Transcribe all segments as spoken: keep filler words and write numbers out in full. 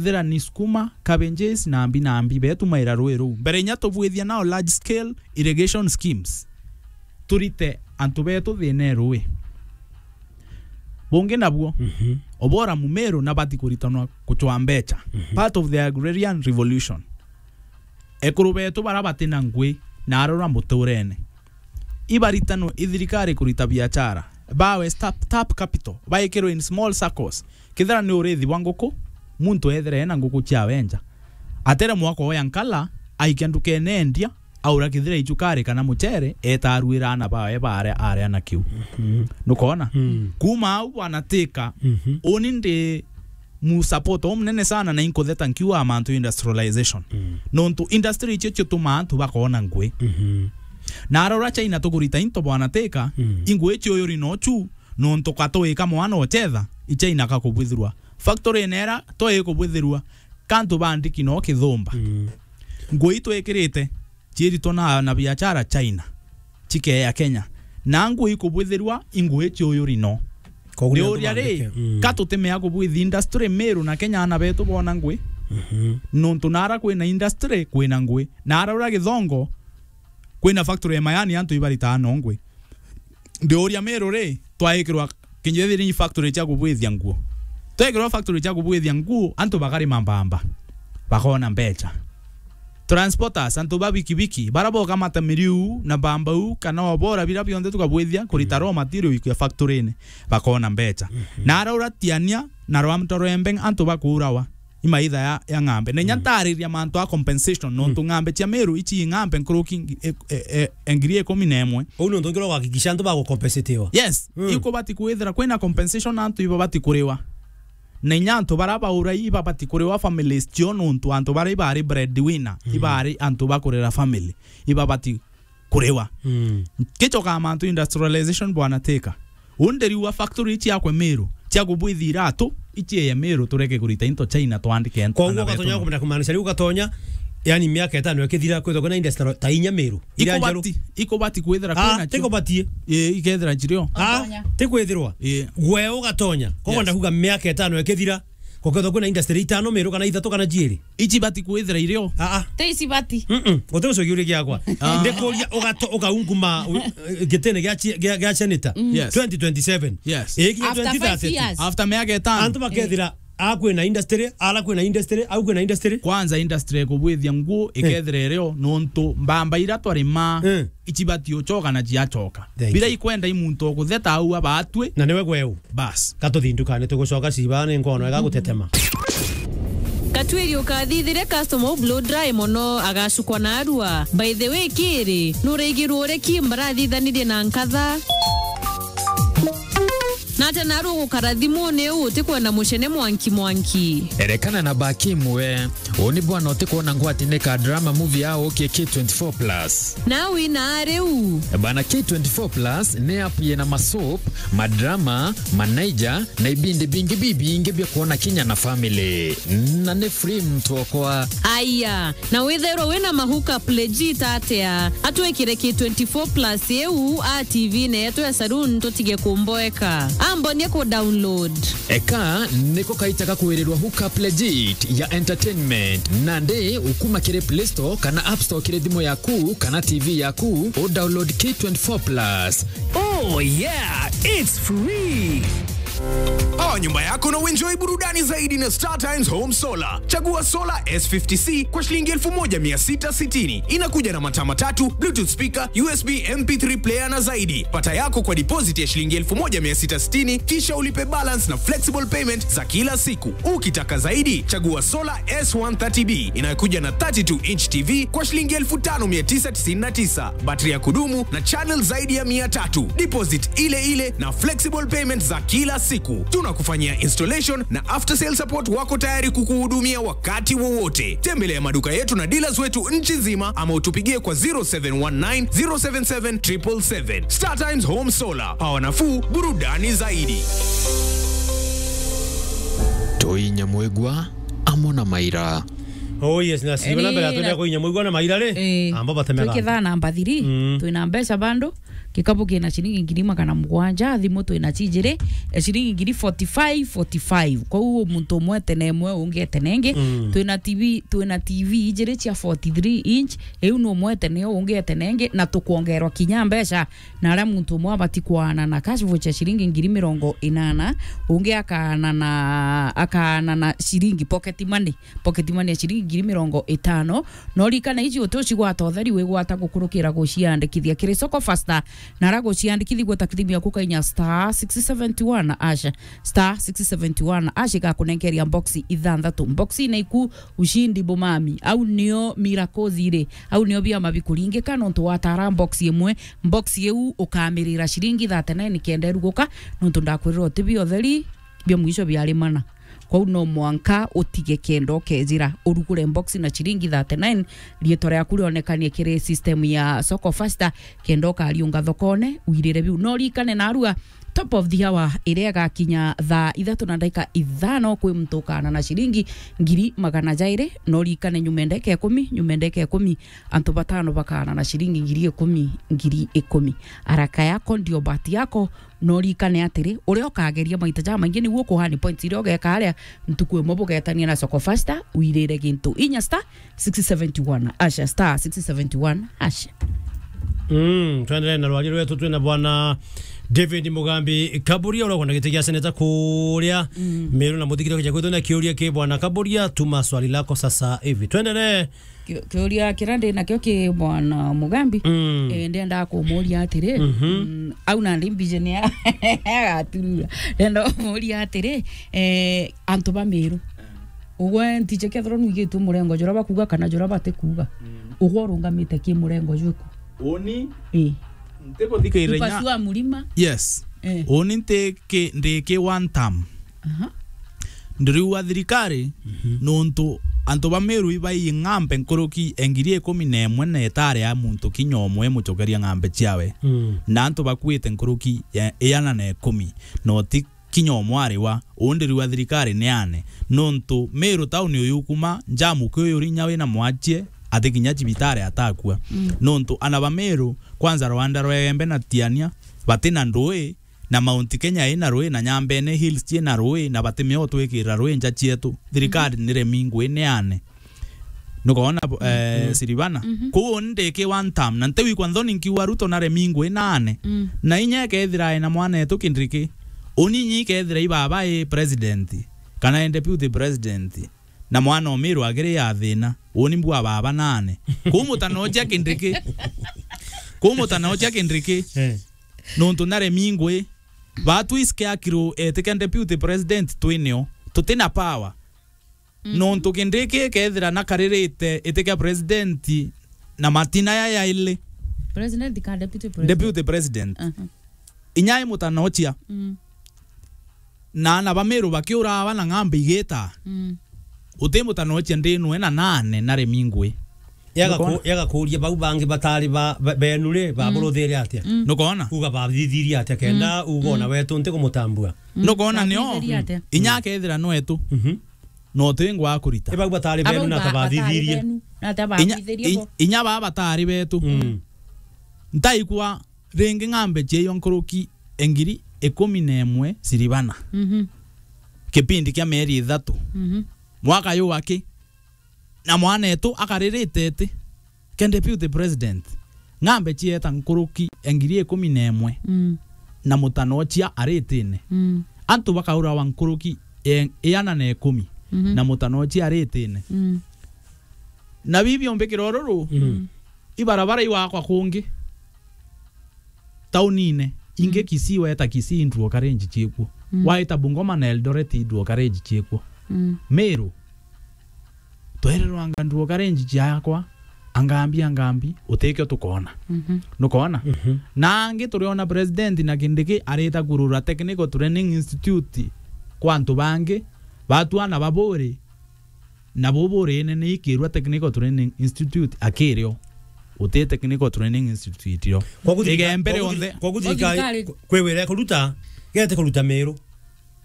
Thira ni sukuma, cabbages, na mbi na mbi, betumaira rui ruu. Mbere inya tubwithia nao large scale irrigation schemes, turite antu betu thina e rui. Bungi nabuo, Mhm. Obora Mumiru nabati kuritanwa kucwa mbecha. Mhm. Part of the agrarian revolution. Ekuru betu bara batina ngui na arora muturene. Ibaritanwe i thirikari kurita biachara. Bawe start up capital. Baikirwe in small circles. Kethira ni urithi bwa nguku, muntu ethire ena nguku ciawe nja. Atere mwako oya nkala, aikia ndukene endia, aura kethira icukari kana muchere, eta aruira ana bawe baria aria na kiu. Mhm. Nukoona? Mm. Kuma au bwana Tika, Mhm. uni ndi mu support o munene sana na inkutheta nkiuga mantu industrialization. Mm. Nontu industry icio cio tumaa antu bakoona ngui. Mhm. Na arora China tukurita into bwana Tika, Mm. ingui icio yuri no chu, nontu katwika mwana ochetha, i China kakubwithirwa. Factory nera toi kubwithirwa, kantu bandiki no kithumba. Mm. Ngui twikirite, ciritwa na, na biachara China, cikeya Kenya. Na ngui ikubwithirwa, ingui ciuyuri no. Koguo ni antu uria ri, bandike. Mm. Ka tutimea kubwithi industry Miru na Kenya ana betu bona ngui. Mhm. Nontu nara kwina industry, kwina ngui. Na ara uria Githongo, kwina factory ya mayani antu ibaritaa no ngui. Ndiuria Miru ri, twaikirwa kinjethiri ni factory cia kubwithia nguo. Twekirwa factory cia kubwithia nguo, antu bakarima mbamba, bakona mbecha. Transporters, antu ba bikibiki, bara bokamata miriu na mbambau, kana obora bira bionthe tukabwithia, kurita raw material ikwia factory-ini, bakona mbecha. Mhm. Na araura Tiania na Rwamto Rwembeng antu bakuurawa. Imaitha ya, ya ng'ambe. Na inya Mm. ntaariria mantu a compensation, nontu Mm. ng'ambe cia Miru ici i ng'ambe nkuruki ngi-, e, e, e, e, ngiri ikumi na imwe. Uu ni untu ngira ugakikisha antu bagucompensatiwa. Yes, Mm. ikubati kwithira kwina compensation antu ibabati kuriwa. Na inya antu bara baura ibabati kuriwa families cio nontu antu bara ibari breadwinner, Mm. ibari antu bakurera family, ibabati kuriwa. Mm. Kichoka mantu industrialization bwana Tika. Unde riu a factory ici akwe Miru, cia kubwithi iratu, ici eye Miru tureke kurita into China twandike antu. Koguo ana betu ugatonya no. Kumenya kumaanisha riu ugatonya, yani miaka itano ikithira kwithwa kwina industry ta inya Miru. Iria njeru. Ikubati, ikubati kwithira Ah, kwina cio. Tikubatie. Ii, ikethira njirio. Ah, Ugatonya. Tikwithirwa. Ii. Gwe ugatonya. Koguo Yes. ndakuga miaka itano ikithira, gukethwa kwina industry itano Miru kana ithatu kana ciiri. Ici bati kwithira irio. Ah, ah. Te ici bati. Mm-mm. Guti gucokia kiuria giakwa. Ah. Ndikuria ugato-, ukaunguma, u-, gitine gia chi-, gia, gia senator. Mm. Yes. Twenty twenty-seven. Yes. Ii, kinya After five twenty thirty. Years. After miaka itano. Antu bakethira, a kwina industry, ara kwina industry, au kwina industry. Kwanza industry kubwithia nguo, Eh. ikethira irio, nontu mbamba ira twarima, Eh. ici bati uchoka na ciachoka. Thank Bira you. Ikwenda i muntu ukutheta au abatwi. Na niwe gweu. Bas. Katuthi ndukane tugucoka ciba ni nkono ega gutetema. Katwiri ukathithire customer u blow dry mono agacukwa na arua. By the way, kiri, nuraigirwo uri ki mbarathithanirie na nkatha? Na ata naru ugukara thimuni u utikwenda mucene mwanki mwanki? Erekana na baki imwe. Uu ni bwana utikwona ngwati ni ka drama movie ya ukie K twenty-four plus. Na wina riu? Bana, K twenty-four plus ni app yina masoap, madrama, manaija, na ibindi bingi bibingi bia kwona kinya na family. Na ni free mtu okwa. Aya, na withairwa wina mahuka legit atia? Atwikire K twenty-four plus iu a T V-ini yetu ya saloon tutige kumboeka. Ambonie ku download. Eka niko kaita ga kwirirwa hookup legit ya entertainment. Nandi ukuma kiri Play Store kana App Store kiri thimu yaku kana T V yaku, u download K twenty-four plus. Oh yeah, it's free. Pawa nyumba yako na uenjoy burudani zaidi na Star Times Home Solar. Chagua Solar S fifty C kwa shilingi elfu moja mia sita sitini. Inakuja na mataa matatu, Bluetooth speaker, U S B M P three player na zaidi. Pata yako kwa deposit ya shilingi elfu moja mia sita sitini, kisha ulipe balance na flexible payment za kila siku. Ukitaka zaidi, chagua Solar S one thirty B inayokuja na thirty-two inch T V kwa shilingi elfu tano mia tisa tisini na tisa, battery ya kudumu na channel zaidi ya mia tatu. Deposit ile ile na flexible payment za kila siku. Tunakufanyia installation na after sale support, wako tayari kukuhudumia wakati wowote. Tembelea maduka yetu na dealers wetu nchi nzima ama utupigie kwa zero seven one nine, zero seven seven, triple seven. Star Times Home Solar, pawa nafuu, burudani zaidi. Toi Nyamwigwa amo na Maira. Oh yes, na siba na mbere atunya ko Nyamwigwa na Maira ri. Eh. Amba batemega. Twikithaa namba three, Mm. Twina mbeca bando. Gikabu kina ciringi ngiri magana mugwanja, thimu twina cijiri, eh, ciringi ngiri forty-five, forty-five. Kwou muntu umwe etene imwe, ungi etene ingi. Mm. Twina T V, twina T V ijiri cia forty-three inch, iu ni umwe etene, ungi etene ingi, na tukwongerwa kinya mbeca. Na aria muntu umwe abati kwaana na cash voucher ciringi ngiri mirongo inana, ungi akaana na, akaana na ciringi pocket money, pocket money ya ciringi ngiri mirongo itano. No rikana iji uti ucigwata utheri wigwata gukurukira guciandikithia kiri Soko Faster, na ara guciandikithi gweta kithimu yaku kainya star six seventy one hash, star six seventy one hash igakunenkeria box ithanthatu. Box ina iku ushindi bumami. Au nio miracles iri. Au nio biama bikuringika nontu watara box imwe. Box iu ukamirira ciringi thirty-nine kenda iruguka, nontu ndakwirira uti bia utheri bia mwisho biari mana. Kwou no mwanka utige kenda ukejira urugure box na ciringi thirty-nine, riitwa riaku rionekanie kiri system ya Soko Faster, kenda ukariunga thokone, wirire biu. No rikane narua, top of the hour iria igakinya thaa ithatu na ndagika ithano, kwi muntu ukaana na ciringi ngiri magana jairi. No rikane nyuma ya ndagika ikumi, nyuma ya ndagika ikumi, antu batano bakaana na ciringi ngiri ikumi, ngiri ikumi. Haraka yako ndio bahati yako. No rikane atiri, uria ukageria maita jamaingi niguo ukuhani points iria ugeka aria ntuku imwe bugetania na Soko Faster, wirire gintu inya star six seventy one hash, star six seventy one hash. Mm, twendelee na rwari rwetu, twina bwana David Mugambi Kaburia, uria ukwenda giti gia seneta kuria Mm. Meru na muthikire kija kwitu na kiuria ki bwana Kaburia, tuma swali lako sasa hivi. Twendelee. Ki-, kiuria kiria ndi nakio ki bwana Mugambi, Mm. eh, ndenda kumuria atiri, Mhm. mm, au nandi mbije ni agaturura. Ndenda kumuria atiri, eh, antu ba Meru. Ugwe ntiche kethirwa nwigitwe murengo juria bakuga kana juria batikuga. Mm. Ugwe urungamite ki murengo jwiku? Uni? Ii. Ntiguthikirira inya. Kupasua mlima? Yes. Eh. Uni nti ki, ndi ki one term. Aha. Ndiriuga thirikari, Mhm. nontu antu ba Meru ibai ng'ambe nkuruki ya ngiri ikumi na imwe na itari ya muntu kinya umwe imucokeria ng'ambe ciawe. Mm. Na antu bakuite nkuruki ya iana na ikumi, no ti kinya umwe ari wa. Uu ndiriuga thirikari niane, nontu Meru tauni uyu ukuma njamuki uyu uri inya wina mwachie, ati kinya cibitari atakua. Mm. Nontu ana ba Meru, kwanza Rwanda rwa Igembe na Tiania, batina ndui, na Mount Kenya ina rui, na Nyambene Hills ciina rui, na batimea utwikirira rui nja cietu. Thirikari Mhm. niremi ngui niane. Nukwona, eh, Mhm. Siribana? Mhm. Kwou uni ndi ki one term, na ntiwikwa nthoni nkiuga Ruto naremi ngui naane. Mm. Na inya ikethira ena mwanetu Kindiki, uni inya ikethira i baba i president, kana i deputy president, na mwana o Miru akiri ya thina, uni mbua baba naane. Kwou mutanochia Kindiki. Kwou mutanochia Kindiki. Eh. Nontu naremi ngui. Batwi scarecrow etike deputy president twinio. Tutina power. Mhm. Nontu Kindiki kethira nakaririte itikia president na matina ya yaili. President ka deputy president? Deputy president. Aha. Inya i mutanochia. Mm. Na ana ba Miru bakiurawa na ng'ambe igita. Mm. Uti mutanochia ndinwe na nane naremi ngui. Yaga Nukona? ku-, yaga kuria bau bangi batari ba, ba, benu ri, Mm. baburuthire atia? Mm. Nukona? Kuga bathithirie atia kenda Mm. uga ona Mm. wetu nti kumutambua? Mm. Nukona nio? Bathithirie atia? Inya Mm. akethira nwetu. Mhm. No ti ngwa kurita. Ibau batari benu Abau na ba-, batari tabathithirie. Benu, na Inya, tabathithirie i-, bo. Inya baba batari betu. Mm. Ntaikwa ringi ng'ambe cieyo nkuruki engiri ikumi na imwe Siribana. Mhm. Kipindi kia mieri ithatu. Mhm. Mwaka yu aki. Na mwanetu akaririte iti. Ke deputy president. Ng'ambe cieta nkuruki engiri ikumi na imwe. Mm. Na mutanochia aritine. Mm. Antu bakaurawa nkuruki e-, iana na ikumi. Mhm. Na mutanochia aritine. Mm. Na bibi umbikira ururu. Mm. Ibarabara iwakwa kungi. Taunine, ingi Mm. Kisii, weta Kisii, ndruo karenji ciekuo. Mm. Waita Bungoma na Eldoret, ndruo karenji ciekuo. Mm. Meru, twererwanga ndruo karenji ciakwa, angambi, angambi, utikio tukona. Mhm. Nukona? Mhm. Na angi turiona president na Kindiki arita kurura Technical Training Institute kwa antu bangi, batwana baburi, na bubu uri inene ikirua Technical Training Institute akirio. Uti Technical Training Institute rio. Kwa guthirika-, Igembe kwa guthi-, rionthe. Kwa guthirikari Kwa thirikari. Kwi wira ikuruta, gete kuruta Meru.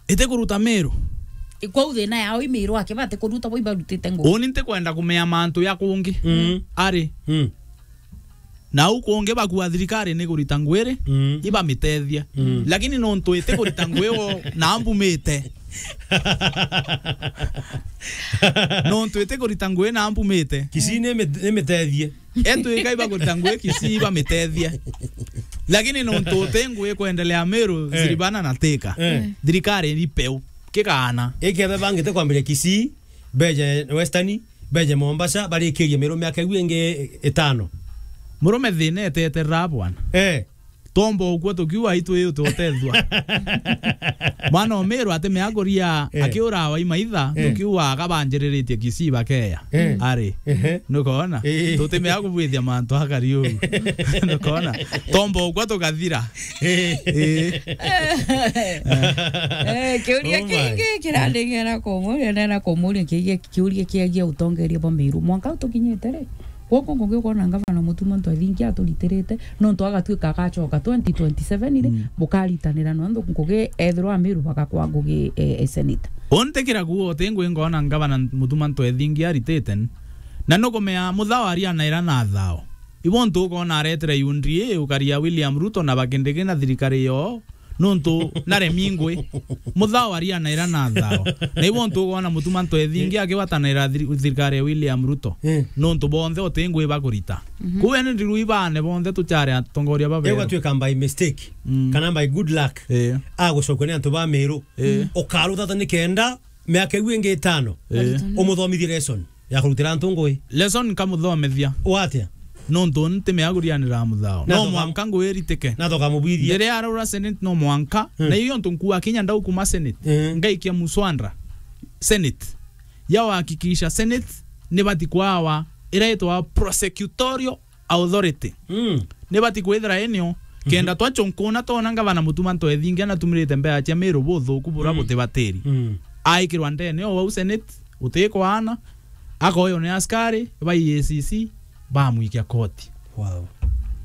Ite kuruta Meru. Kwa u thina yao i Meru ake bati kuruta bo ibarutite ngugi. Uni ntikwenda kumea mantu ya kungi. Mm. Ari. Mm. Na au kungi bakua thirikari ni kurita ngwiri, mm, ibamitethie. Mm. Lakini nontu iti kurita ngwi wo na mbumite. Nontu iti kurita ngwi na mbumite. Kisii ni mi-, ni mitethie. Etu ikai bakurita ngwi Kisii bamitethie. Lakini nontu uti ngwi kwendelea Meru, eh, Ziribana na Thika. Eh. Thirikari ni peu. Kigana. Ikethe bangite kwambiria Kisii, beje Western, beje Mombasa, barikirie Meru miaka iu ingi itano. Murume thina eteterera bwana. Eh. Tomba ukua tukiuga itwi utethua. Mwana o Meru atimea kuria, eh, akiura wa imaitha, eh, tukiuga akabanjiriritie Kisii bakeya. Eh. Ari. Ehe. Nukona? Eh. Tutimea kubwithia mantu akari uu. Nukona? Tomba ukua tukathira. Eh. Eh. Eh, kiuria, oh my, kingi kirandingera kumuria, nena kumuria kigia kiuria kiagia utongeria bwa Meru. Mwanka utukinyite ri? Gwoko ngugi ukona ngavana Mutuma Ntwethingia aturitirite, nontu agatuika agacoka twenty twenty-seven ri, mm, bukaritanira nontu ngugi ethirwa Amiru bagakwa ngugi, e, e seneta. Untikira kuo uti ngui ngona ngavana Mutuma Ntwethingia aritite, na nukumea Muthao arianaira na Thao. Ibo ntu ukona aretire U D A ukaria William Ruto na bakindiki na thirikari yo, nontu naremi ngui. Muthao arianaira na Thao. Na ibo ntu ukona Mutuma Ntwethingi, eh, akiwatanira thiri-, thirikari ya William Ruto. Eh. Nontu bonthe uti ngui bakurita. Mhm. Kuu ene ndiru ibane bonthe tuchare atongoria baberu. Egwatuika by mistake, mm, kana by good luck. Eh. Agucokua ni antu ba Meru. Eh. Ukaruthata ni kenda miaka iu ingi itano. Eh. Umuthomithie lesson ya kurutira antu ngui. Lesson nkamuthomithia. Watia? Nontu nti miagurianira Muthao. Na no thoka-, mwanka ngui iritike. Na thoka mubwithia. Ndiria arura Senate no mwanka. Hmm. Na iyo ntu nkua kinya ndau kuma Senate. Hmm. Ngaikia muswanda Senate. Ya uhakikisha Senate ni bati kwawa ira itwa prosecutorial authority. Mm. Ni bati kwithira inio, mhm, kenda twachonkuna twona ngavana Mutuma Ntwethingi anatumirite mbea cia Miru buthuku bura, mm, butibatiri. Mm. Aikirwa ndene o wau Senate, utikwana, akoywa ni askari ba E A C C, bamwikia koti. Wow.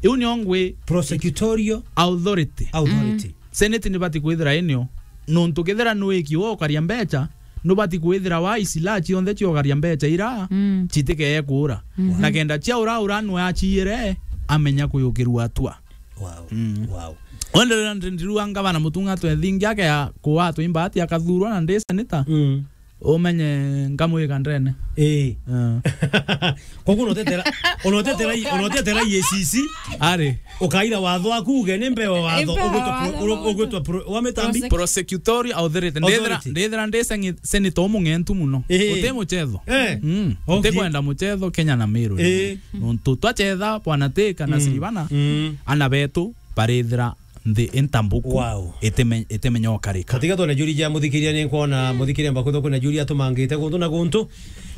Iu nio ngwi prosecutorial authority. Authority. Mm. Senate ni bati kwithira inio, nontu kethira nwiki wo ukaria mbecha, nubati kwithira wa isila cionthe ciogaria mbecha ira, mm, citikee kuura. Mhm. Na kenda cia ura ura nwe aciire, amenya kuyukirua atua. Wow. Mm. Wow. Onderera ndi-, ndirua ngavana Mutuma Ntwethingi akea kuwa atwi mbati akathurwa na ndi seneta. Mm. Umenye nkamwika ndene. Ii. Eh. Koguo unotetera, unotetera, unotetera E A C C. Ari. Ukaira watho waku uge ni mbewa watho. Ni mbewa ugwitwa pro-, watho ugwitwa pro-, wa mitambi? Prosecutorial authority. Ndethira, authority, ndethira ndi sengi-, senator umung'entu muno. Ehe. Uti muchetho. Eh. Mm. Okay. Ntikwenda muchetho Kenya na Meru. Eh. Nontu twachetha bwana Teka na, mm, Siribana, mm, ana betu barithira nthi intambuku. Wow. Itime-, itimenya ukarika. Katika twone juri ja muthikiria, ni nkwona muthikiria mbakutho kwina juri atumangite guntu na guntu.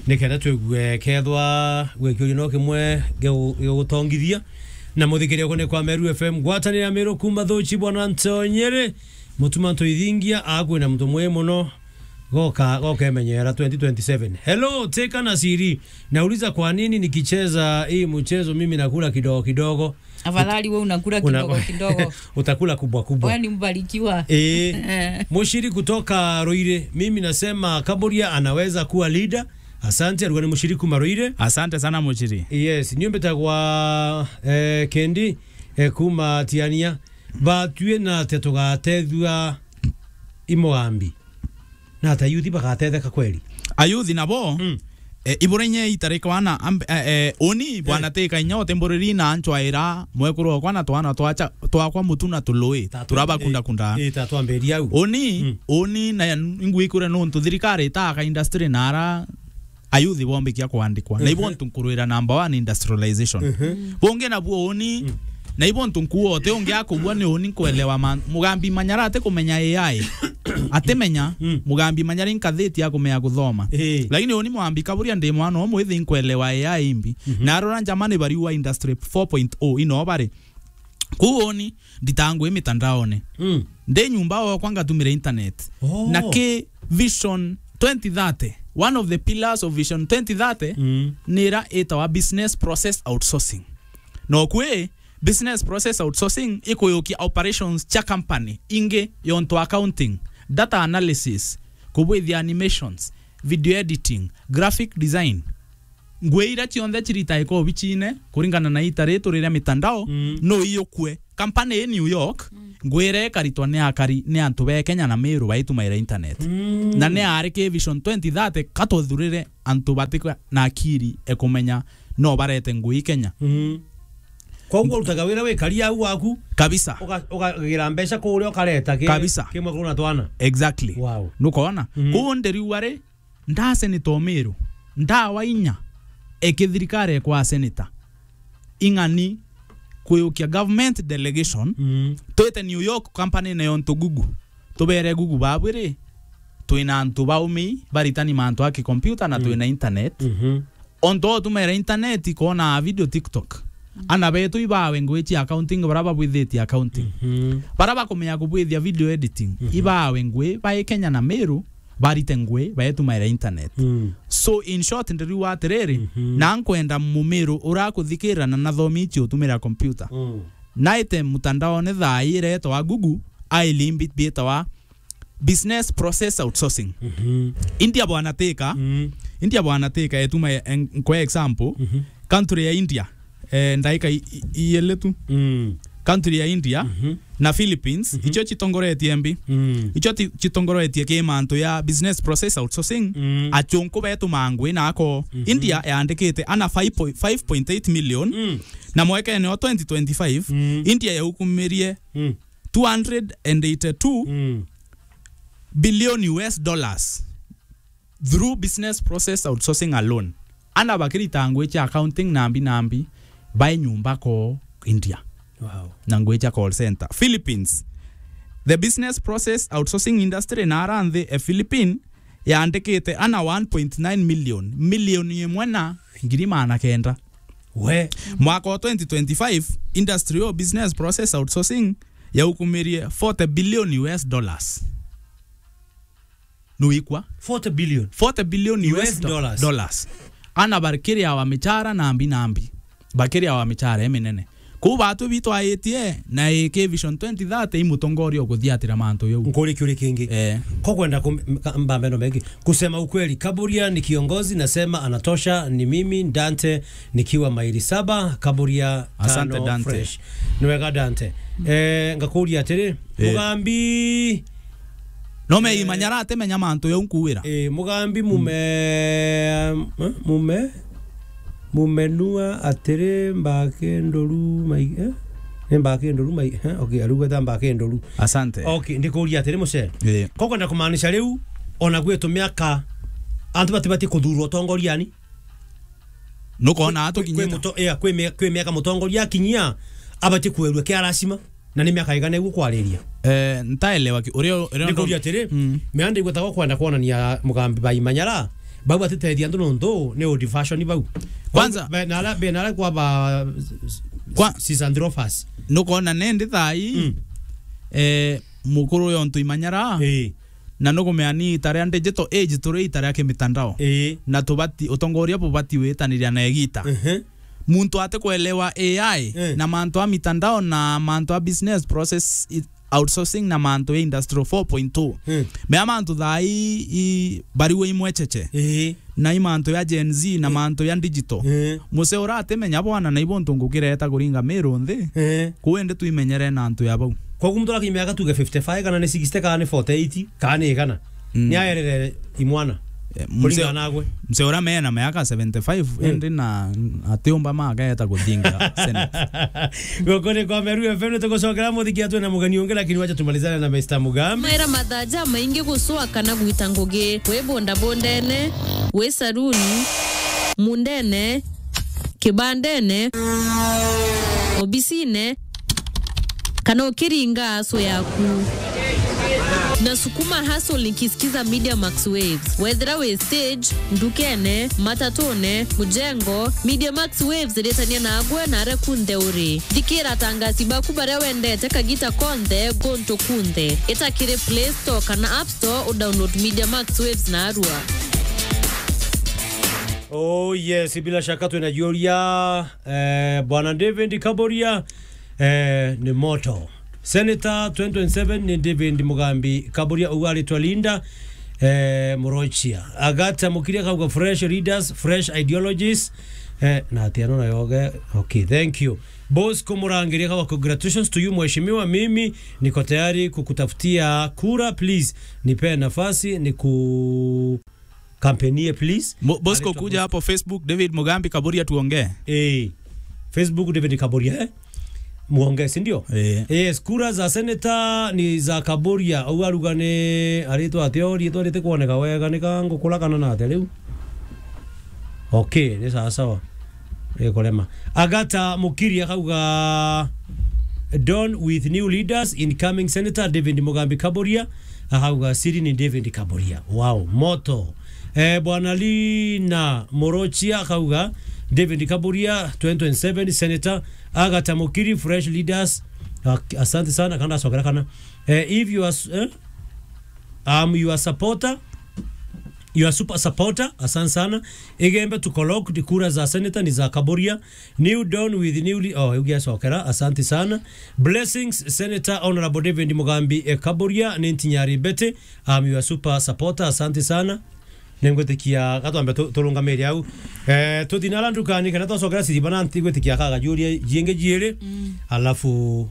Nikenda twigue kethwa gwikiuria no kimwe geu-, gigutongithia. Na muthikiria uku ni kwa Meru F M, ngwataniro ya Meru kuma Thuchi, bwana Ntonyere, Mutuma Ntwethingia, akwina muntu mwi muno. Goka, goka emenyera twenty twenty-seven. Hello, Teka na Siri. Nauliza kwa nini nikicheza hii mchezo mimi nakula kidogo kidogo? Afadhali wewe unakula kidogo kidogo. Utakula kubwa kubwa. Wewe ni mbarikiwa. Eh, Mushiri kutoka Ruiri, mimi nasema Kaburia anaweza kuwa leader. Asante, alikuwa ni Mushiri kuma Ruiri. Asante sana, Mushiri. Yes, niumbitagwa, eh, Kendi, eh, kuma Tiania. Batue na atia tugatethua i mugambi? Na ata youth bagatetheka kweli? Ayuthi nabo, mm, eh, ibura inya itarikwana amb-, eh, eh, uni, eh, bwana Teka inya utimburiri na anchwaira mwekuru okwa na twana twacha-, twakwa mutu na tului. Ta twa-, turabakunda kunda. Eh, eh, ta twambiria au. Uni, mm, uni na ingwikure nontu thirikari itaka industry na ara ayuthi bombikia kwandikwa. Na ibo, mhm, ntu nkurwira number one industrialization. Mhm. Bungi nabuo uni, mm, na ibo ntu nkuo uti ungi akubua ni uni nkwelewa man-, Mugambi Manyara ati kumenya A I. Atimenya, mm, Mugambi Manyara inkathiti akumenya kuthoma. Eh. Lakini uni Mugambi Kaburia ndi mwana umwe ithi nkwelewa A I imbi. Mhm. Na arora njama ni bariua industry four point oh ino bari. Kuu uni nditangwi mitandaone. Mm. Ndi nyumba okwa ngatumira internet. Oh. Na ki Vision twenty thirty, one of the pillars of Vision twenty thirty, mm, ni ira itawa business process outsourcing. No kwi business process outsourcing ikuyukia operations cha company ingi yontu accounting, data analysis, kubwithia animations, video editing, graphic design. Ngui iria cionthe ciritaika obichine, kuringana na ita ri turi ria mitandao, Mm. no iyukue. Kampani ii New York, Mm. ngui iria ikaritwa ni akari, ni antu ba Kenya na Meru baitumaira internet. Mm. Na ni ari ki Vision twenty thirty, ka tuthurire antu batikwa na akiri e kumenya no barete ngui Kenya. Mm. Koguo urutaga wira wikari au waku, Kabisa. uga-, ukagira mbeca kuria ukareta ki-, Kabisa. kimwe kuna twana. Exactly. Wow. Nukona? Mm. Koguo ndiriuga ri, nda senator Meru, ndawa inya, eki thirikari ekwa senator, ing'ani kuyukia government delegation, Mm. twite New York company-ine yontu Google, tubere Google babwire, twina antu baumi baritani mantu a kicomputer na Mm. twina internet. Mhm. Ontu o tumera internet kwona video TikTok. Mm. Ana betu ibawe ngui cia accounting, bara babwithitie accounting. Mhm. Bara bakumenya kubwithia video editing, Mhm. ibawe ngui, bae Kenya na Meru, barite ngui, baetumaira internet. Mm. So, in short, ndiriuga atiriri, Mhm. na nkwenda Mumiru urakuthikira na nathomi icio utumira computer. Mm. Naite mutandaone thaa ii iretwa Google, aili mbi-, bietawa business process outsourcing. Mhm. India bwana tika, Mm. India bwana tika, etuma e-, en-, kwa example, Mhm. country ya India, eh, ndaika i-, i-, iele tu. Mm. Country ya India Mhm. na Philippines, Mhm. icio citongoretie mbi. Mm. Icio ti-, citongoretie ki mantu ya business process outsourcing, Mm. achunku betu mangwi nako. Mhm. India yandikite ana five point, five point eight million, Mm. na mwekene wa twenty twenty-five, Mm. India yaukumirie Mm. two hundred and eighty-two Mm. billion U S dollars through business process outsourcing alone. Ana bakirita ngui cia accounting nambi nambi, bae nyumba ko India. Wow. Na ngui cia call center. Philippines, the business process outsourcing industry na ara nthi e Philippine yandikite ana one point nine million, milioni imwe na ngiri magana kenda. We. Mwaka wa twenty twenty-five, industry o business process outsourcing yaukumirie forty billion U S dollars. Nuikwa? Forty billion. Forty billion U S U S do-, dollars. Dollars. Ana bakiriawa michara nambi nambi. Bakiriawa michara iminene. Kuu batu bitwaitie na iki Vision twenty thirty i mutongoria ukuthiatira mantu yau. Nkuri kiuri kingi. Eh. Ko kwenda kum-, ka-, mbambe no mengi. Kusema ukweli, Kaburia ni kiongozi, nasema anatosha, ni mimi, Dante, nikiwa maili saba, Kaburia Asante, tano Dante. Fresh. Ni wega, Dante. Eh, ngakuria atiri, Eh. Mugambi, No me Eh. imanya aratemenya mantu yau nkuwira. Eh, Mugambi mume, eh, mume, mumenua atiri mbake ndoru mai-, eh? Ni mbake ndoru mai-, eh? Okay, arugeta mbake ndoru. Asante. Okay, ndikuria atiri muce. Eh. Ko kwenda kumaanisha riu, ona gwitu miaka, antu batibati kuthurwa utongoriani? Nukona Kwi, atukinyite. Kwi muto-, ea, kwi mia-, kwi miaka mutongoria akinyia, abati kuerua kia lazima. Na ni miaka igana iguo kwariria? Eh, ntaelewa ki-, uria, uria Nikuria atiri, Mm. mianda igwetagwa kwenda kwonania Mugambi ba Imanyara, bau batitethia antu nontu ni old fashion bau. Kwanza Be-, na ala, be na ala kwa ba, Kwa- Sisandrofas. Nukona nendi thaa ii, Mm. eh, mukuru yontu Imanyara, Ii. na nukumea ni ita ria digital age turi ita ria kimitandao. Ii. Na tubati, utongoria bubati witaniria na igita. Ehe. Muntu ati kuelewa A I Eh. na mantu a mitandao na mantu a business process i-, outsourcing na mantu ya industrial four point two. Eh. Mea mantu thaa ii, i, bariwe imwecheche. Eh. Na i mantu ya Gen Z na Eh. mantu ya digital. Eh. Muse uratimenya bwana na ibo ntu ngukireta kuringa Meru nthi. Eh. Kuu indi twimenyere na antu ya bau. Koguo muntu arakimya tuge fifty-five kana ni sixty kana ni forty-eight kana ni igana. Mm. Ni aerere imwana. Eh, mse-, Kuringana nagwe. Mse ura mena miaka seventy-five, Eh. indi na atiumba mageta kuthinga Senate. Guku ni kwa Meru F M, nitugucokera muthiki atwe na mugeni ungi, lakini wacha tumalizane na Mister Mugambi. Maira mathaja maingi gucwa kana gwita ngugi, wi bondabondene, wi saruni, mundene, kibandene, obisine, kana ukiringa aso yaku. Na sukuma hustle nikisikiza Media Max Waves. Wethira wi stage, ndukene, matatune, mujengo, Media Max Waves iritania nagwe na aria kunthe uri. Thikira atangasi baku baria wendete kagita konthe, guntu kunthe. Ita kiri Play Store kana App Store, udownload Media Max Waves narua. Oh yes, bila shaka twina juria, eh, Bwana David Kaboria, eh, ni moto. Senator twenty twenty-seven ni David Mugambi Kaboria, ugu aritwa Linda. Eh, Murochia. Agata Mukiri akauga fresh leaders, fresh ideologies. Eh, na ati ano nayo ge. Okay, thank you. Bosco Murangiri akauga congratulations to you mheshimiwa, mimi niko tayari kukutafutia kura, please nipe nafasi ni ku kampenie, please. Mo-, Bosco, kuja hapo Facebook, David Mugambi Kaburia, tuongee. Eh. Facebook, David Kaburia, eh? Muongee, si ndio? Eh. Yes, kura za senator ni za Kaburia. Au aruga ni aritwa atio, ritwa riti kuoneka wega, ni ka ngukura kana na atia riu? Okay, ni sawa sawa. Ni kurema. Agata Mukiri akauga, "Done with new leaders, incoming senator David Mugambi Kaburia." Akauga, "Siri ni David Kaburia." Wow, moto. Eh, Bwana Lina Morochia akauga, "David Kaburia, twenty twenty-seven senator." Agata Mukiri, fresh leaders. Ak-, asante sana, kanda acokera kana. Eh, if you are s-, eh? I'm your supporter. You are super supporter. Asante sana. Igembe to collect kura za senator ni za Kaburia. New Dawn with newly, oh, ugiacokera. Asante sana. Blessings, Senator Honorable David Mugambi, eh, Kaburia, ni Ntinyari Mbete. I'm your super supporter. Asante sana. Ningwitikia gatwambe tu-, turungamire au. Eh, tuthi na ara ndukani, kana twacokera Siriba na nti gwitikia kagajuria jiingi jiiri. Mm. Alafu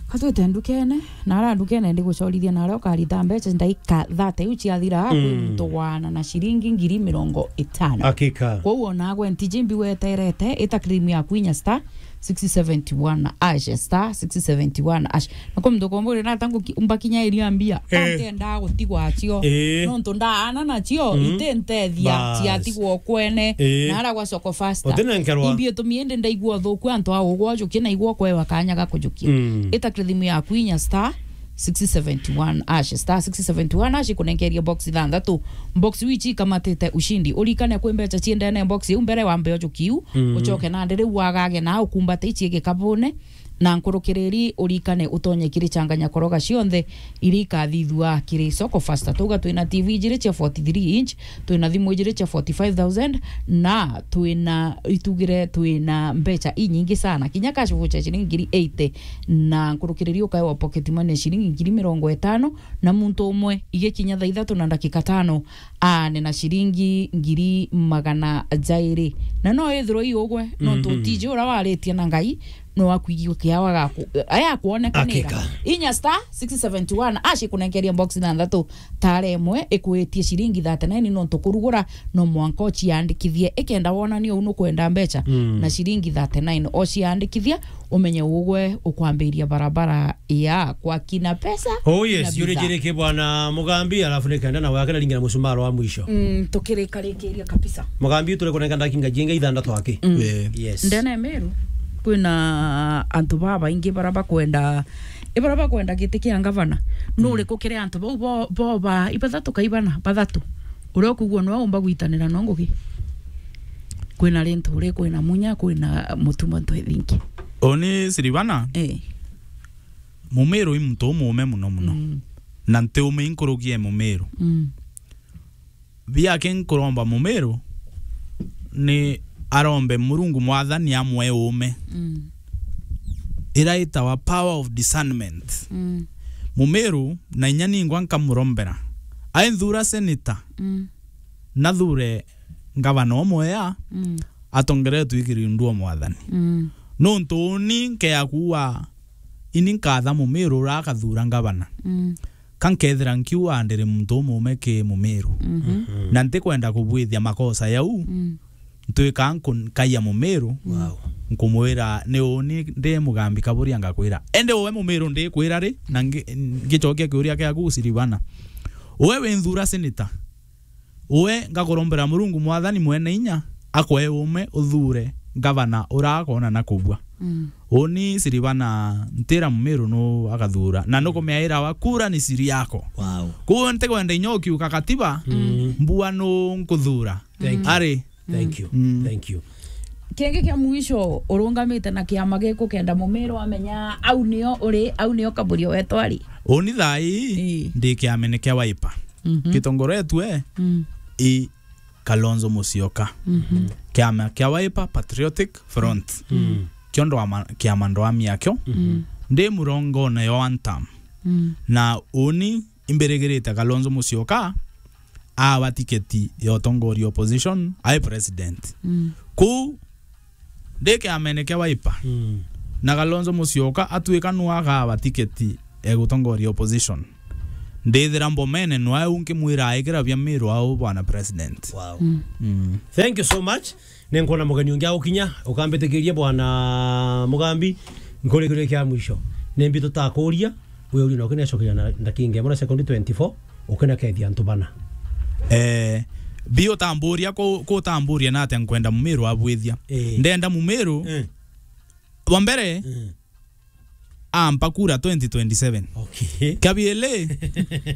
Katwite ndukene, na ara ndukene ndigucorithia na aria ukarita mbeca ndaika thirty iu ciathira, mm, kwi muntu waana na ciringi ngiri mirongo itano. Hakika. Kwou ona agwe ntiji mbi weterete, ita cream yaku inya star six seventy one hash, star six seventy one hash. Na kwi muntu ukomburi na tangu ki-, mbakinya iria mbia, eh, ntiendaa gutigwa acio. Eh. Nontu ndaana nacio, mm, itintethia, bas, ciatigwa kwene. Eh. Na ara gwa Soko Faster. Utinenkerwa. Imbi itumi indi ndaigua uthuku antu a ugwa ujukie na igwa ukwewa kanya ga kujukia. Mm. Ita kiri thimu yaku inya star six seventy one hash, star six seventy one hash, ikunenkeria box ithanthatu. Box iu ici ikamatite ushindi. Urikane kwi mbeca ciendene box iu mbere wambe ujukie iu, mm, ucoke nandi riu wagage na ukumbate ici gikabune. Na nkurukiriri urikane utonye kiri changanya koroga cionthe iria ikathithua kiri Soko Faster. Twauga twina T V ijiri cia forty-three inch, twina thimu ijiri cia forty-five thousand, na twina itugire, twina mbeca inyingi sana. Kinya cash voucher ciringi ngiri eighty, na nkurukiriri ukaewa pocket money ciringi ngiri mirongo itano, na muntu umwe igikinya thaa ithatu na ndakika tano, aane na ciringi ngiri magana jairi. Na no ithirwe i ugwe, nontu, mhm, utiji uria waritie na Ngai, no akwigua kiawa gaku, aya akuonekanira. Hakika. Inya star six seventy one hash ikunenkeria box ithanthatu, tara imwe ikwitie ciringi thirty-nine, nontu kurugura no mwanka uciandikithie. Ikenda wonania uu nukwenda mbeca, mm, na ciringi thirty-nine uciandikithia, umenye ugwe ukwambiria barabara ya kwa kina pesa. Oh yes, na bidhaa. Yuri jiri ki bwana Mugambi, alafu nikenda na wake na ringi na musumaro wa mwisho. Mm, tukirikarikiria kabisa. Mugambi, turi kunenka ndakinga jinga ithanthatu aki. Mm. Eh. Yes. Ndene Meru, kwina antu babaingi bara bakwenda, i bara bakwenda giti kia ngavana. Mm. Nuri kukire antu bau bo, bo ba, ibathatu kaibana, bathatu. Uria ukugua no umba gwitanira no ngugi. Kwina Linturi, kwina Munya, kwina Mutuma, ntu ithingi. Oni Siribana? Eh. Mumiru i muntu umuume muno muno. Mm. Na nti ume inkurugia Mumiru. Mm. Biaki nkuromba Mumiru ni arombe Murungu Mwathani amwe uume. Mm. Ira itawa power of discernment. Mm. Mumiru na inya ningwa nkamurombera. Ainthura senator. Mm. Nathure ngavana umwe ya, mm, atongeretwe ikirindua Mwathani. Mm. Nontu uni nkea kuuga, ini nkatha Mumiru uria akathura ngavana. Mm. Ka nkethira nkiuga ndiri muntu umuume ki Mumiru. Mhm. Mhm. Na ntikwenda kubwithia makosa yau, mm, ntwika nku-, nkaia Mumiru, wow, nkumwira, ni uni ndi Mugambi Kaburia ngakwira. Indi uwe Mumiru ndikwira ri, na ngi-, ngicokia kiuria kiaku Siribana. Uwe winthura senator, Uwe ngakurombera Murungu Mwathani mwene inya akwe uume uthure ngavana uria akoona na kubua. Mm. Uni Siribana ntira Mumiru nu akathura, na nukumeaira wa kura ni siri yako. Wow. Kwou ntikwenda inya ukiuka katiba, mm, mbua nu nkuthura. Thank you. Ari. Thank you. Mm. Thank you. Kingi kia mwisho, urungamite na kiama giku kenda Mumiru amenya au nio uri, au nio Kaburia wetu ari. Uni thaa ii, ii, ndi kiamene kia Wiper. Mhm. Gitongoretue, mm, i Kalonzo Musyoka. Mhm. Kiama kia Wiper Patriotic Front. Mm. Kio ndwama-, kiama ndwamia kio. Mhm. Ndi murongone yo one term. Mm. Na uni imbirigirite Kalonzo Musyoka awa tiketi ya utongoria opposition, ai president. Mm. Kuu, ndi kiamene kia Wiper. Mm. Na Kalonzo Musyoka atuika nu agawa tiketi ya gutongoria opposition. Ndithira mbomene nwae u nkimwira aikira bia Miru au bwana president. Wow. Mm. Mm. Thank you so much. Ni nkwona mugeni ungi agukinya, ukambitikiria bwana Mugambi, nkurikuria kia mwisho. Ni mbi tutakuria, we uri na ukinecokeria na ndakinga imwe na sekondi twenty-four, ukinakethia antu bana. Eh, bi utamburia ku-, kutamburia na atia nkwenda Mumiru abwithia. Eh. Ndenda Mumiru, eh, wa mbere, eh, ampa kura twenty twenty-seven. Okay. Kia biili,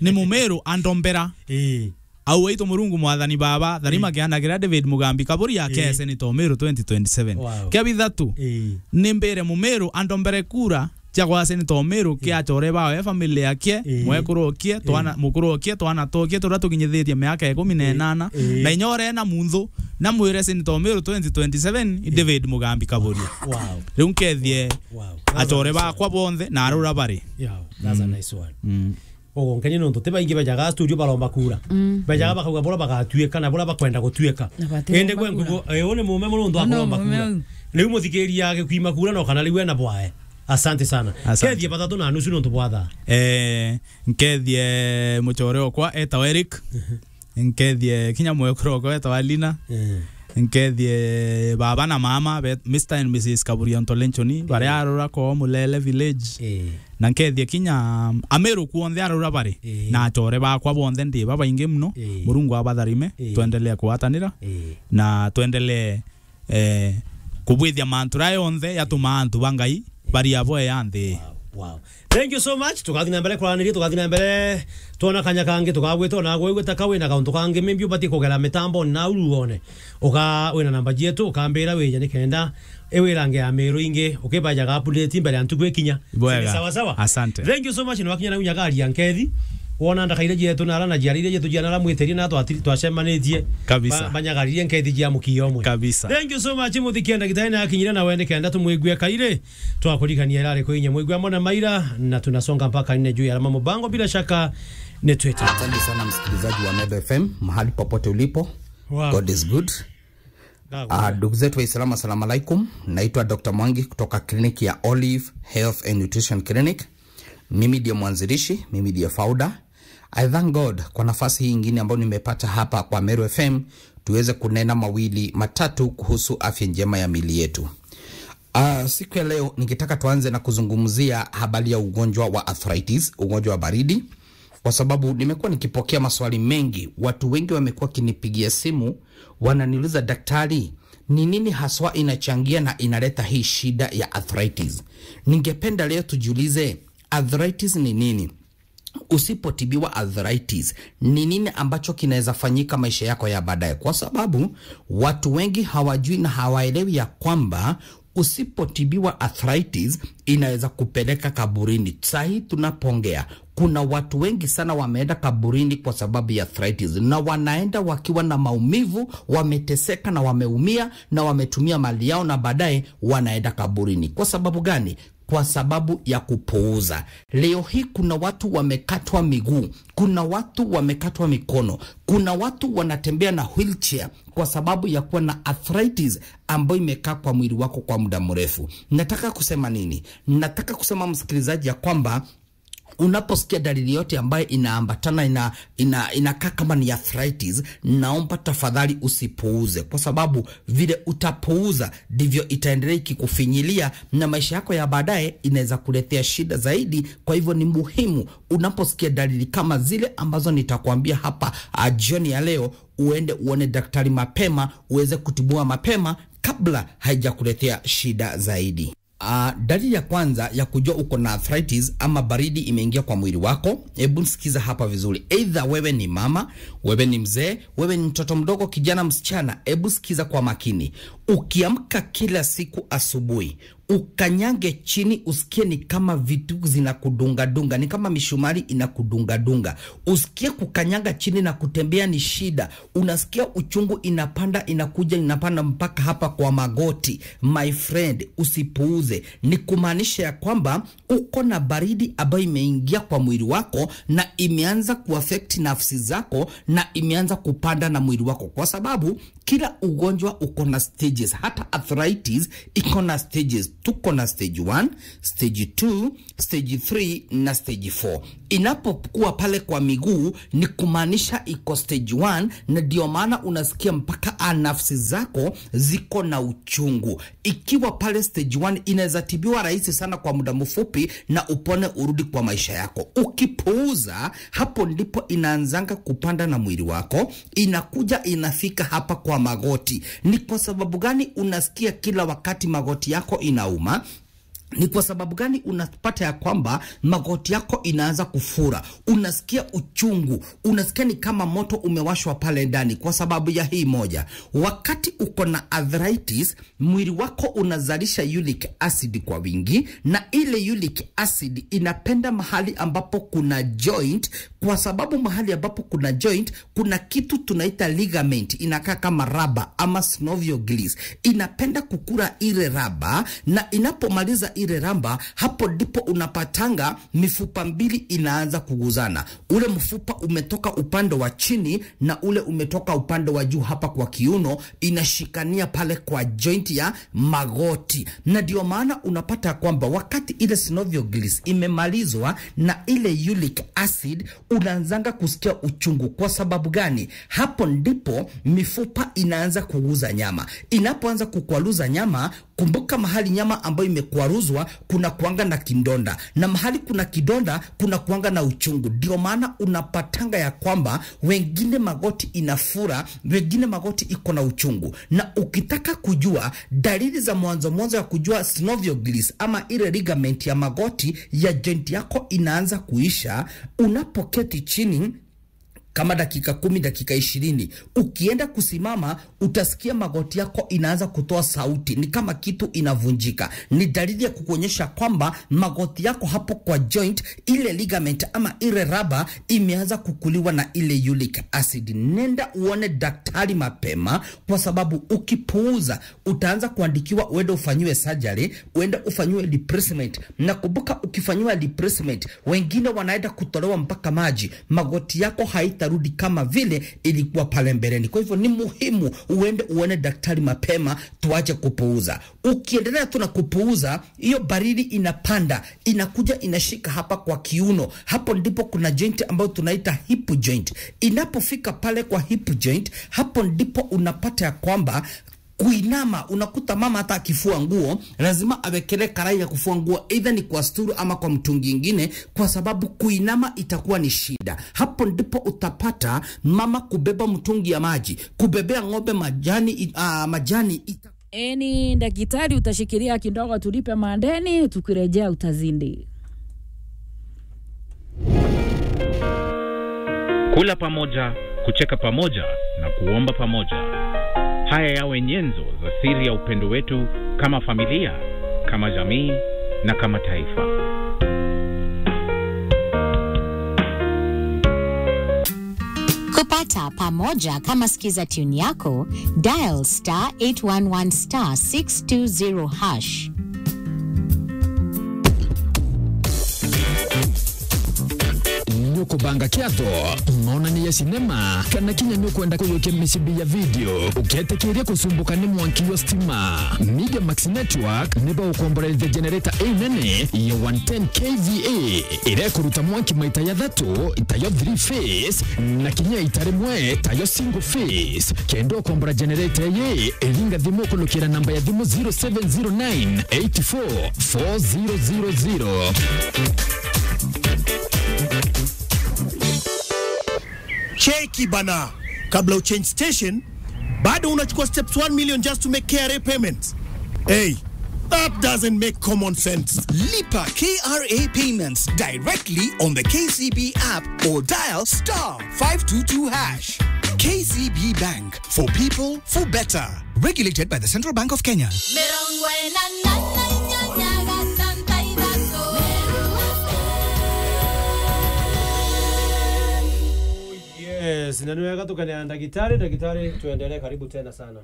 ni Mumiru andombera. Eh. Au aitu Murungu mwathani baba, tharima, eh, kiana kiria David Mugambi Kaburi, eh, akese ni Tomiru twenty twenty-seven. Wow. Kia bithatu, eh, ni mbire Mumiru andombere kura cia kwa Senator Omiru, eh, kia achore bawe, family yake, eh, mwekuru okie, eh, twana, mukuru okie, twana tokie, turia tukinyithitie miaka ikumi na inana, eh, eh, na inya uria ena munthu, na mwire Senator Omiru twenty twenty-seven, eh, David Mugambi Kaburi. Wow. Riu nkethie, wow, achore bakwa bonthe na arura bari. Yeah, that's a, mm, nice one. Mm. Ugo nkenya nontu ti baingi bejaga studio baromba kura. Mm. Bejaga bakauga bura bagatuika na bura bakwenda gutuika. Na bati indi gwe nkugo, eh, uni mume muno nontu akuromba kura. Riu muthikiria agikuima kura no kana riu ena bwae. Asante sana. Asante. Kethie bathatu na nusu nontu bwa thaa. Eh, nkethie muchore okwa etawa Eric. Mhm. Nkethie kinya mwekuru okwa etawa Lina. Eh. Nkethie baba na mama, be-, Mister and Missus Kaburi Ontolenchoni, baria, eh, arura ko Mulele Village. Eh. Na nkethie kinya, um, Ameru kuonthe arura bari. Eh. Na achore bakwa bonthe ndi babaingi muno. Eh. Murungu abatharime, eh, twendelee kugwatanira. Eh. Na twendelee, eh, kubwithia mantu raa yonthe yatumaa antu ba Ngai bari abo ya nthi. Wow, wow. Thank you so much. Tukathi na mbere kuraniria, tukathi na mbere. Twona kanya kangi, tukagwita ona gwe gwita kawi na kauntu kangi. Maybe ubati kugera mitambo na uru one. Uka, wina namba cietu, ukambira wija nikenda iwirange ya Miru ingi, ukibajaga update mbere ya ntuku ikinya. Bwega. Sawa sawa. Asante. Thank you so much. Ni wakinya na unyagaria nkethi. Wona ndakaire cietu na ara na ciari iria cietu ciana ara mwitirie na twatiri twacemanitie. Kabisa. Ba-, banyagaririe nkethi cia mukio umwe. Kabisa. Thank you so much, muthikia ndagitari na akinyire na wende kenda tumwigue kaire. Twakurikania irari kwi inya mwigua mona maira, na tunasonga mpaka nne juu ya alama mubango. Bila shaka ni Twitter. Asante sana msikilizaji wa Meru F M, mahali popote ulipo. Wow. God is good. Ah, ndugu zetu wa Islam, assalamu alaikum. Naitwa Doctor Mwangi kutoka kliniki ya Olive Health and Nutrition Clinic. Mimi ndiye mwanzilishi, mimi ndiye founder. I thank God kwa nafasi hii ingine ambayo nimepata hapa kwa Meru F M, tuweze kunena mawili matatu kuhusu afya njema ya miili yetu. Ah, siku ya leo ningetaka tuanze na kuzungumzia habari ya ugonjwa wa arthritis, ugonjwa wa baridi, kwa sababu nimekuwa nikipokea maswali mengi. Watu wengi wamekuwa wakinipigia simu, wananiuliza, "Daktari, ni nini haswa inachangia na inaleta hii shida ya arthritis?" Ningependa leo tujiulize, arthritis ni nini? Usipotibiwa arthritis, ni nini ambacho kinaweza fanyika maisha yako ya baadaye? Kwa sababu watu wengi hawajui na hawaelewi ya kwamba usipotibiwa arthritis inaweza kupeleka kaburini. Saa hii tunapoongea, kuna watu wengi sana wameenda kaburini kwa sababu ya arthritis, na wanaenda wakiwa na maumivu, wameteseka na wameumia na wametumia mali yao, na baadaye wanaenda kaburini. Kwa sababu gani? Kwa sababu ya kupuuza. Leo hii kuna watu wamekatwa miguu, kuna watu wamekatwa mikono, kuna watu wanatembea na wheelchair kwa sababu ya kuwa na arthritis ambayo imekaa kwa mwili wako kwa muda mrefu. Nataka kusema nini? Nataka kusema, msikilizaji, ya kwamba unaposikia dalili yote ambayo inaambatana, ina, ina, inakaa kama ni arthritis, naomba tafadhali usipuuze, kwa sababu vile utapuuza ndivyo itaendelea ikikufinyilia, na maisha yako ya baadaye inaweza kuletea shida zaidi. Kwa hivyo ni muhimu unaposikia dalili kama zile ambazo nitakwambia hapa, ah, jioni ya leo, uende uone daktari mapema, uweze kutibiwa mapema kabla haijakuletea shida zaidi. Ah, dalili ya kwanza ya kujua uko na arthritis ama baridi imeingia kwa mwili wako, hebu sikiza hapa vizuri. Either wewe ni mama, wewe ni mzee, wewe ni mtoto mdogo, kijana, msichana, hebu sikiza kwa makini. Ukiamka kila siku asubuhi, ukanyange chini, usikie ni kama vitu zinakudunga dunga, ni kama mishumari inakudunga dunga. Usikie kukanyaga chini na kutembea ni shida. Unasikia uchungu inapanda, inakuja, inapanda mpaka hapa kwa magoti. My friend, usipuuze. Ni kumaanisha ya kwamba uko na baridi ambayo imeingia kwa mwili wako na imeanza kuaffect nafsi zako na imeanza kupanda na mwili wako, kwa sababu kila ugonjwa uko na stages. Hata arthritis iko na stages. Tuko na stage one, stage two, stage three na stage four. Inapokuwa pale kwa miguu, ni kumaanisha iko stage one, na ndio maana unasikia mpaka a nafsi zako ziko na uchungu. Ikiwa pale stage one, inaweza tibiwa rahisi sana kwa muda mfupi na upone, urudi kwa maisha yako. Ukipuuza, hapo ndipo inaanzanga kupanda na mwili wako, inakuja inafika hapa kwa magoti. Ni kwa sababu gani unasikia kila wakati magoti yako inauma? Ni kwa sababu gani unapata ya kwamba magoti yako inaanza kufura, unasikia uchungu, unasikia ni kama moto umewashwa pale ndani? Kwa sababu ya hii moja, wakati uko na arthritis, mwili wako unazalisha uric acid kwa wingi, na ile uric acid inapenda mahali ambapo kuna joint, kwa sababu mahali ambapo kuna joint kuna kitu tunaita ligament, inakaa kama raba ama synovial gills, inapenda kukula ile raba, na inapomaliza ile raba, hapo ndipo unapatanga mifupa mbili inaanza kuguzana. Ule mfupa umetoka upande wa chini na ule umetoka upande wa juu hapa kwa kiuno, inashikania pale kwa joint ya magoti. Na ndio maana unapata kwamba wakati ile synovial gills imemalizwa na ile uric acid, unaanzanga kusikia uchungu. Kwa sababu gani? Hapo ndipo mifupa inaanza kuguza nyama. Inapoanza kukwaruza nyama, kumbuka, mahali nyama ambayo imekwaruzwa kuna kuanga na kidonda, na mahali kuna kidonda kuna kuanga na uchungu. Ndio maana unapatanga ya kwamba wengine magoti inafura, wengine magoti iko na uchungu. Na ukitaka kujua dalili za mwanzo mwanzo ya kujua synovial gills ama ile ligament ya magoti ya joint yako inaanza kuisha, unapoketi chini kama dakika kumi, dakika ishirini, ukienda kusimama, utasikia magoti yako inaanza kutoa sauti, ni kama kitu inavunjika. Ni dalili ya kukuonyesha kwamba magoti yako hapo kwa joint, ile ligament ama ile raba imeanza kukuliwa na ile uric acid. Nenda uone daktari mapema, kwa sababu ukipuuza, utaanza kuandikiwa uende ufanyiwe surgery, uende ufanyiwe replacement. Na kumbuka, ukifanyiwa replacement, wengine wanaenda kutolewa mpaka maji, magoti yako haitarudi kama vile ilikuwa pale mbeleni. Kwa hivyo, ni muhimu uende uone daktari mapema, tuache kupuuza. Ukiendelea tu na kupuuza, hiyo baridi inapanda, inakuja inashika hapa kwa kiuno. Hapo ndipo kuna joint ambayo tunaita hip joint. Inapofika pale kwa hip joint, hapo ndipo unapata ya kwamba kuinama, unakuta mama hata akifua nguo, lazima awekele karai ya kufua nguo, either ni kwa sturu ama kwa mtungi ingine, kwa sababu kuinama itakuwa ni shida. Hapo ndipo utapata mama kubeba mtungi ya maji, kubebea ng'ombe majani, i- ah, majani ita- Eni, daktari, utashikilia kidogo, tulipe madeni, tukirejea utazidi. Kula pamoja, kucheka pamoja na kuomba pamoja. Haya yawe nyenzo za siri ya upendo wetu kama familia, kama jamii na kama taifa. Kupata pamoja kama skiza tune yako, dial star eight one one star six two zero hash. Nukubanga kiatho, maonani ya sinema, kana kinya nukwenda kuyukia micibi ya video uketikiria kusumbuka ni mwanki wa stima? Media Max Network niba ukomboreria generator inene ya one ten K V A iria ikuruta mwanki maita jathatu, tayo three phase, na kinya ita rimwe, tayo single phase. Kenda ukombora generator ii, iringa thimu kulukira namba ya thimu zero seven zero nine eight four four zero zero zero. Cheki bana, kabla uchange station, bado unachukua steps one million just to make K R A payments. Hey, that doesn't make common sense. Lipa K R A payments directly on the K C B app or dial star five two two hash. K C B Bank, for people, for better. Regulated by the Central Bank of Kenya. Mirongo ina na inyanya gatanta ithatu. Yes, na ni wega tukene na ndagitari. Ndagitari, tuendelee, karibu tena sana.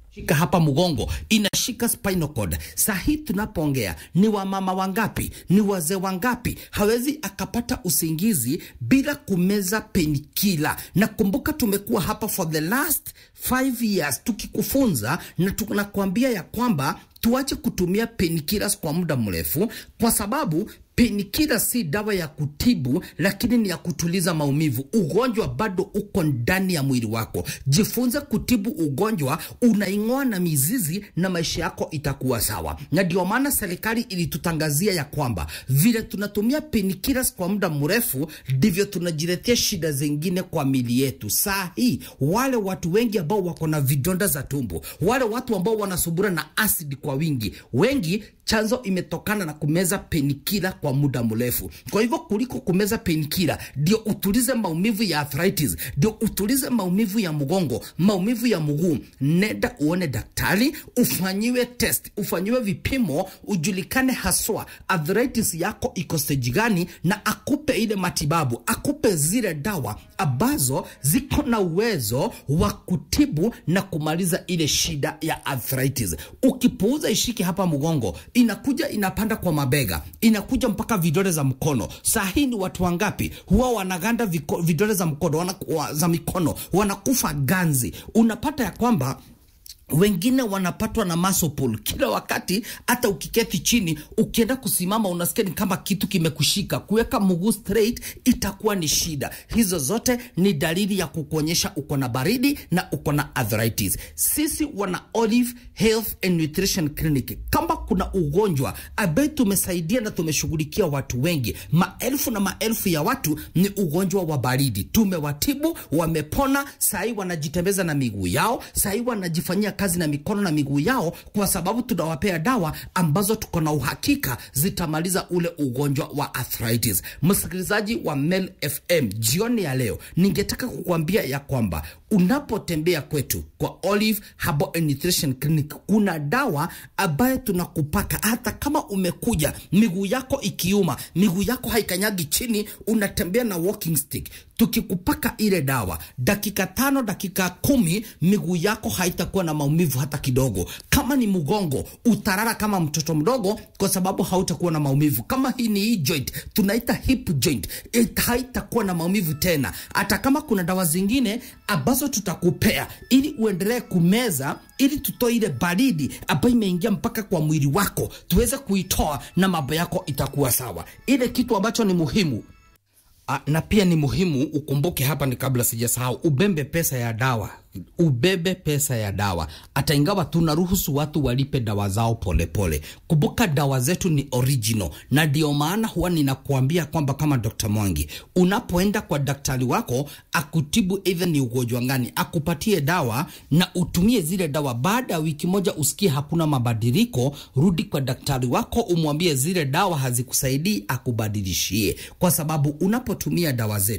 Shika hapa mgongo, inashika spinal cord. Saa hii tunapoongea, ni wamama wangapi, ni wazee wangapi hawezi akapata usingizi bila kumeza painkiller? Na kumbuka, tumekuwa hapa for the last five years tukikufunza na tunakuambia ya kwamba tuache kutumia painkillers kwa muda mrefu, kwa sababu painkiller si dawa ya kutibu, lakini ni ya kutuliza maumivu. Ugonjwa bado uko ndani ya mwili wako. Jifunze kutibu ugonjwa, unaing'oa na mizizi, na maisha yako itakuwa sawa. Na ndio maana serikali ilitutangazia ya kwamba vile tunatumia painkillers kwa muda mrefu, ndivyo tunajiletea shida zingine kwa mili yetu. Saa hii, wale watu wengi ambao wako na vidonda za tumbo, wale watu ambao wanasumbuliwa na acid kwa wingi, wengi chanzo imetokana na kumeza painkiller kwa muda mrefu. Kwa hivyo, kuliko kumeza painkiller, ndio utulize maumivu ya arthritis, ndio utulize maumivu ya mgongo, maumivu ya mguu, nenda uone daktari, ufanyiwe test, ufanyiwe vipimo, ujulikane haswa arthritis yako iko stage gani, na akupe ile matibabu, akupe zile dawa ambazo ziko na uwezo wa kutibu na kumaliza ile shida ya arthritis. Ukipuuza, ishike hapa mgongo, inakuja inapanda kwa mabega, inakuja mpaka vidole za mkono. Saa hii ni watu wangapi huwa wanaganda viko-, vidole za mkono, wana-, wa-, za mikono, wanakufa ganzi? Unapata ya kwamba wengine wanapatwa na muscle pull kila wakati, hata ukiketi chini, ukienda kusimama, unasikia ni kama kitu kimekushika. Kuweka mguu straight itakuwa ni shida. Hizo zote ni dalili ya kukuonyesha uko na baridi na uko na arthritis. Sisi wana Olive Health and Nutrition Clinic, kama kuna ugonjwa ambaye tumesaidia na tumeshughulikia watu wengi, maelfu na maelfu ya watu, ni ugonjwa wa baridi. Tumewatibu, wamepona, sahi wanajitembeza na miguu yao, sahi wanajifanyia kazi na mikono na miguu yao, kwa sababu tunawapea dawa ambazo tuko na uhakika zitamaliza ule ugonjwa wa arthritis. Msikilizaji wa Mel F M, jioni ya leo, ningetaka kukuambia ya kwamba unapotembea kwetu kwa Olive Herbal and Nutrition Clinic, kuna dawa ambayo tunakupaka. Hata kama umekuja miguu yako ikiuma, miguu yako haikanyagi chini, unatembea na walking stick, tukikupaka ile dawa, dakika tano, dakika kumi, miguu yako haitakuwa na maumivu hata kidogo. Kama ni mgongo, utalala kama mtoto mdogo kwa sababu hautakuwa na maumivu. Kama hii ni hii joint, tunaita hip joint, it-, haitakuwa na maumivu tena. Hata kama kuna dawa zingine ambazo tutakupea ili uendelee kumeza, ili tutoe ile baridi ambayo imeingia mpaka kwa mwili wako, tuweze kuitoa na mambo yako itakuwa sawa. Ile kitu ambacho ni muhimu, a, na pia ni muhimu ukumbuke hapa, ni kabla sijasahau, ubebe pesa ya dawa. Ubebe pesa ya dawa. Hata ingawa tunaruhusu watu walipe dawa zao polepole, kumbuka dawa zetu ni original, na ndio maana huwa ninakuambia kwamba kama Doctor Mwangi, unapoenda kwa daktari wako akutibu either ni ugonjwa gani, akupatie dawa na utumie zile dawa. Baada ya wiki moja usikie hakuna mabadiliko, rudi kwa daktari wako, umwambie zile dawa hazikusaidii, akubadilishie, kwa sababu unapotumia dawa zetu